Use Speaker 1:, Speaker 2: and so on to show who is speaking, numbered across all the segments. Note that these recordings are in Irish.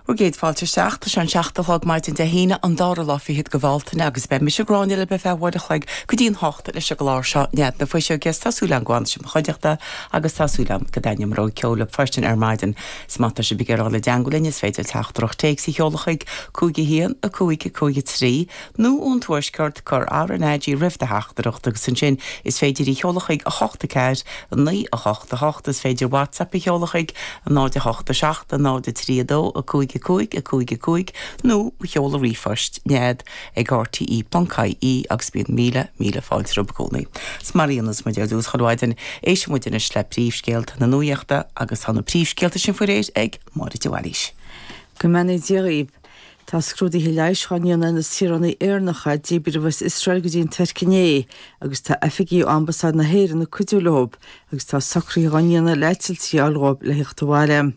Speaker 1: Bhur gcéad fáilte isteach. Tá sé an 7 a chlog maidin Dé hAoine, an dara lá fichead de Bhealtaine agus beidh mise Gráinne libh ar feadh uair a chloig go dtí an hocht leis an gclár seo Nead na Fuiseoige is tá súil agam go bhfanfaidh sibh i mo chuideachta agus tá súil agam go dtaitneoidh mo rogha ceoil libh freisin ar maidin. Is má tá sibh ag iarraidh dul i dteangmháil linn is féidir teachtaireacht téacs a sheoladh chuig 5 1 5 5 3 nó ón Tuaisceart, cuir RnaG roimh do theachtaireacht agus ansin is féidir í a sheoladh chuig 8 4 9 8 8. Is féidir WhatsApp a sheoladh chuig 0 8 7 0 3 2 5 5 5 5 nó mo sheoladh ríomhphoist, nead ag rte.ie agus bíonn míle, míle fáilte romhaibh i gcónaí. Is mar a dhéanas muid ar dtús chuile mhaidin, éistfidh muid anois le príomhscéalta na nuachta agus tá na príomhscéalta sin faoi réir ag Máire de Bhailís.
Speaker 2: Go mbeannaí Dia dhaoibh. Tá scrúduithe leighis á ndéanamh ar na saoránaigh Éireannacha a díbríodh as Iosrael go dtí an Tuirc inné agus tá oifigigh ó Ambasáid na hÉireann ag cuidiú leo agus tá socruithe á ndéanamh le eitiltí a fháil dhóibh le theacht abhaile.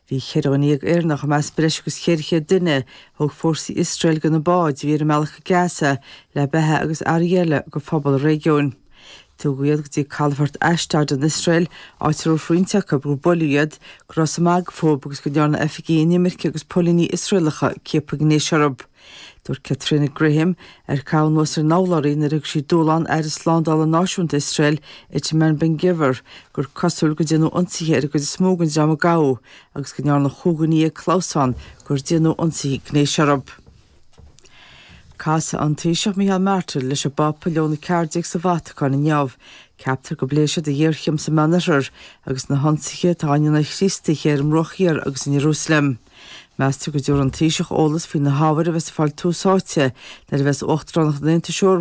Speaker 2: Bhí 14 dhuine Éireannach i measc breis agus 400 duine a thóg fórsaí Iosrael de na báid a bhí ar a mbealach go Gaza le beatha agus earraí eile do phobal an réigiúin. Tugadh iad go dtí calafort Ashdod in Iosrael, áit a dúirt roinnt acu gur buaileadh iad, go raibh smig fúthu agus go ndearna oifigigh inimirce agus póilíní Iosraelacha ciapadh gnéis orthu. Dúirt Caitríona Graham, ar caitheadh anuas ar an urlabhraí nuair a thug sí dúshlán Aire Slándála Náisiúnta Iosrael, Itamar Ben-Gvir, gur cosúil gur déanadh ionsaithe ar an gcuid is mó den dream a gabhadh agus go ndearna chúig dhuine dhéag clamhsán gur déanadh ionsaithe gnéis orthu. Casfaidh an Taoiseach Micheál Martin leis an bPápa Leon 14 sa Vatacáin inniu. Ceaptar go bpléifidh siad an ghéarchéim sa Meánoirthear agus na hionsaithe atá á ndéanamh ar Chríostaithe ar an mBruach Thiar agus in Iarúsailéim. Meastar go dtabharfaidh an Taoiseach eolas faoi na hábhair a bheas ag fáil tús áite nuair a bheas Uachtaránacht an Aontais Eorpaigh.